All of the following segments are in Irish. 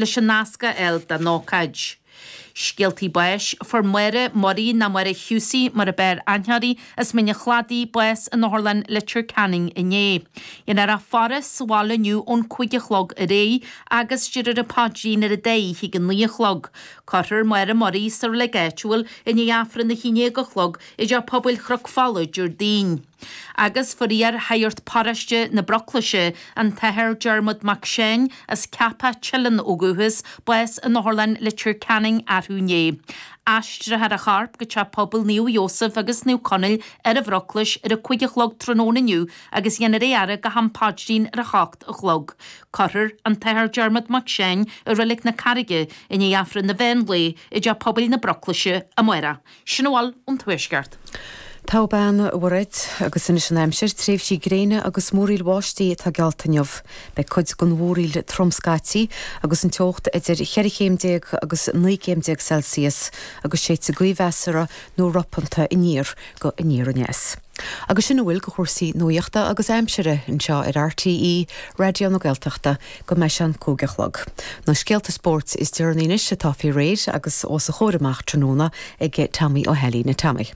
Leis an nasc a fháil don ócáid. Scéaltaí báis, Fuair Máire Murray nó Máire Husey mar a b'fhearr aithne uirthi, as Mín an Chladaigh, bás in Otharlann Leitir Ceanainn inné. Dhéanfar a faire sa bhaile inniu ón 5 a chlog ar aghaidh agus déarfar an paidrín ar an dá oíche ag a 9 a chlog. Cuirfear Máire Murray sa reilig áitiúil i ndiaidh Aifreann a 11 a chlog i dTeach Pobail Chnoc Fola Déardaoin. Agus fuair iar-shagart paróiste na Broclaise, an tAthair Diarmuid Mac Seáin, as Ceapach Teileann ó dhúchas, bás in Otharlann Leitir Ceanainn arú inné. Aistreofar a chorp go Teach Pobail Naomh Iósaf agus Naomh Conaill ar an Bhroclais ar a 5 a chlog tráthnóna inniu agus dhéanfar é a fhaire go ham paidrín ar a hocht a chlog. Cuirfear an tAthair Diarmuid Mac Seáin i Reilig na Carraige i ndiaidh Aifreann an mheán lae i dTeach Pobail na Broclaise amárach. Sin a bhfuil ón Tuaisceart. Togha bean, a Mhairéad, agus anois an aimsir, tréimhsí gréine agus múraíl bháistí atá geallta inniu. Beidh cuid den mhúraíl trom scaití agus an teocht idir cheithre chéim déag agus 19 gcéim Celsius agus séidfidh gaoth mheasartha nó ropanta aniar go aniar aneas. Agus sin a bhfuil de chúrsaí nuachta agus aimsire anseo ar RTÉ Raidió na Gaeltachta go mbeidh sé an 5 a chlog. Na scéalta spóirt is deireanaí anois atá faoi réir agus os a chomhair amach tráthnóna ag Tommy Ó hAilín. A Tommy.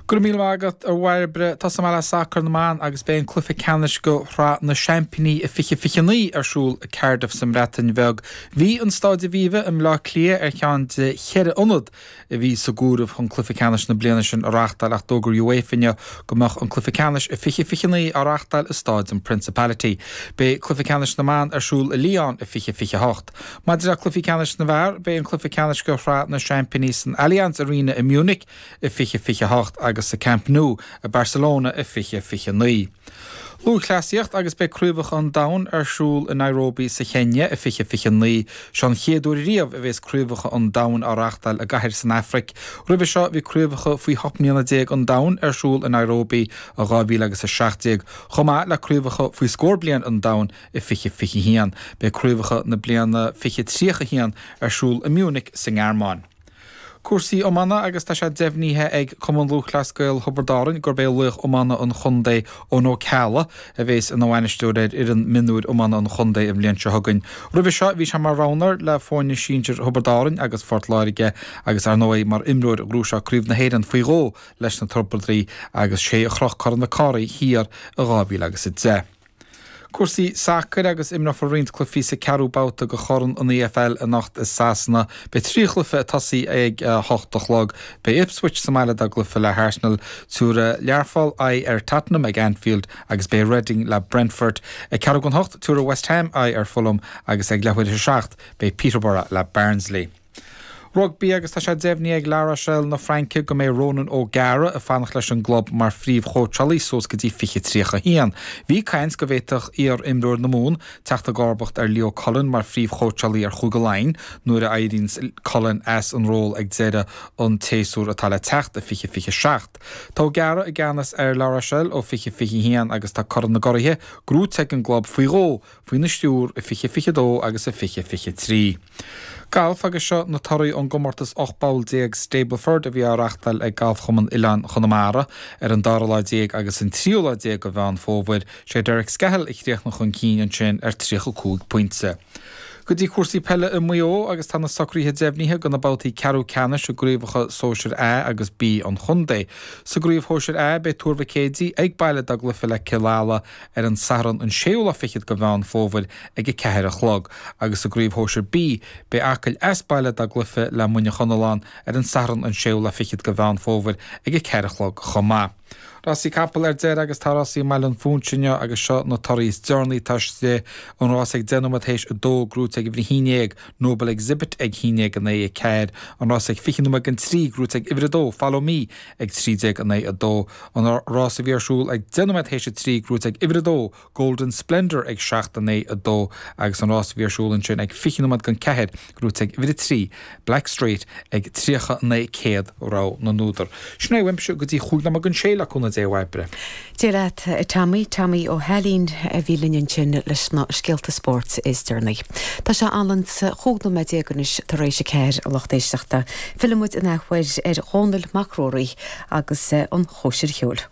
Go raibh míle maith agat, a Bhairbre. Tosóidh mé le sacar na mban agus beidh an cluiche ceannais de Shraith na Seaimpíní i 2029 ar siúl i Cardiff sa mBreatain Bheag. Bhí an Staid Aviva i mBleá Cliath ar cheann de cheithre ionad a bhí sa gcomhaireamh chun cluiche ceannais na bliana sin a reáchtáil ach d'fhógair UEFA inniu go mbeadh an cluiche ceannais i 2029 á reáchtáil i Stáid an Principality. Beidh cluiche ceannais na mban ar siúl i Lyon i 2028. Maidir le cluichí ceannais na bhfear, beidh an cluiche ceannais de Shraith na Seaimpíní san Allianz Arena i Munich i 2028 agus sa Camp Nou i Barcelona i 2029. Lúthchleasaíocht agus beidh Craobhacha an Domhain ar siúl i Nairobi sa Chéinia i 2029. Seo an chéad uair riamh a bhéas Craobhacha an Domhain á reáchtáil i gcathair san Afraic. Roimhe seo bhí Craobhacha faoi 18 mbliana an Domhain ar siúl i Nairobi i 2017, chomh maith le Craobhacha faoi scór bliain an Domhain i 2021. Beidh Craobhacha na bliana 2031 ar siúl i Munich sa nGearmáin. Cúrsaí iomána agus tá sé deimhnithe ag Cumann Lúthchleas Gael Thiobraid Árann gurb é laoch iomána an chontae Eoin Ó Ceallaigh a bhéas ina bhainisteoir ar fhoireann mionúir iomána an chontae an bhliain seo chugainn. Roimhe seo bhí sé mar roghnóir le foirne sinsir Thiobraid Árann agus Phort Láirge agus ar ndóigh mar imreoir ghnóthaigh sé Craobh na hÉireann faoi dhó leis na Tiobradaigh agus sé a chroch Corn Mhic Cárthaigh thiar i 2010. Cúrsaí sacair agus imreofar roinnt cluichí sa ceathrú babhta de Chorn an EFL anocht i Sasana. Beidh 3 chluiche ag tosaí ag 8 a chlog. Beidh Ipswich sa mbaile dá gcluiche le hArsenal. Tabharfaidh Learpholl aghaidh ar Tottenham ag Anfield agus beidh Reading le Brentford. Ag ceathrú don hocht, tabharfaidh West Ham aghaidh ar Fulham agus ag leathuair théis a seacht, beidh Peterborough le Barnsley. Rugbaí agus tá sé deimhnithe ag La Rochelle na Fraince go mbeidh Ronan O'Gara ag fanacht leis an gclub mar phríomhchóitseálaí suas go dtí 2031. Bhí caint go bhféadfadh iar-imreoir na Mumhan teacht i gcomharbacht ar Leo Cullen mar phríomhchóitseálaí ar Chúige Laighean nuair a éiríonns Cullen as an ról ag deireadh an tséasúir atá le teacht i 2027. Tá O'Gara i gceannas ar La Rochelle ó 2021 agus tá Corn na gCuraithe gnóite ag an gclub faoi dhó faoina stiúr i 2022 agus i 2023. Galf agus seo na torthaí ón gcomórtas 18 bpoll Stableford a bhí á reachtáil ag Galfchumann Oileáin Chonamara ar an dara lá déag agus an tríú lá déag de Mheán Fómhair. Sé Derek Scahill a chríochnaigh chun cinn ansin ar 35 pointe. Go dtí cúrsaí peile i Maigh Eo agus tá na socruithe deimhnithe do na babhtaí ceathrú ceannais i gcraobhacha Sóisir A agus B an chontae. Sa gcraobh Shóisir A beidh Tuar Mhic Éadaigh ag baile dá gcluiche le Cill Ala ar an Satharn an séú lá fichead de Mheán Fómhair ag 4 a chlog agus sa gcraobh Shóisir B beidh Acaill as baile dá gcluiche le Muineach Chonalláin ar an Satharn an séú lá fichead de Mheán Fómhair ag 4 a chlog chomh maith. Rásaí capall ar deireadh agus tá rásaí i mBaile an Phúinse inniu agus seo na torthaí is deireanaí atá istigh, an rás ag 10 nóiméad théis 2 gnóite ag uimhir 11, Noble Exhibit ag 11-9-4, an rás ag 20 nóiméad don 3 gnóite ag uimhir 2, Follow Me ag 13-9-2, An rás a bhí ar siúl ag 10 nóiméad théis 3, gnóite ag uimhir 2, Golden Splendour ag 7, 9, 2 agus an rás a bhí ar siúl ansin ag 20 nóiméad don 4, gnóite ag uimhir 3, Black Straight ag 39 100, rogha na n-údar. Sin é uaimse go dtí chúig nóiméad don sé le cúnamh Dé a Bhairbre. Dia leat, a Tommy. Tommy Ó hAilín a bhí linn ansin leis na scéalta spóirt is deireanaí. Tá sé anlann 15 nóiméad anois tar éis a ceathair, a lucht éisteachta. Fillfidh muid an athuair ar Dhónall Mac Ruairí agus an chóisir cheoil.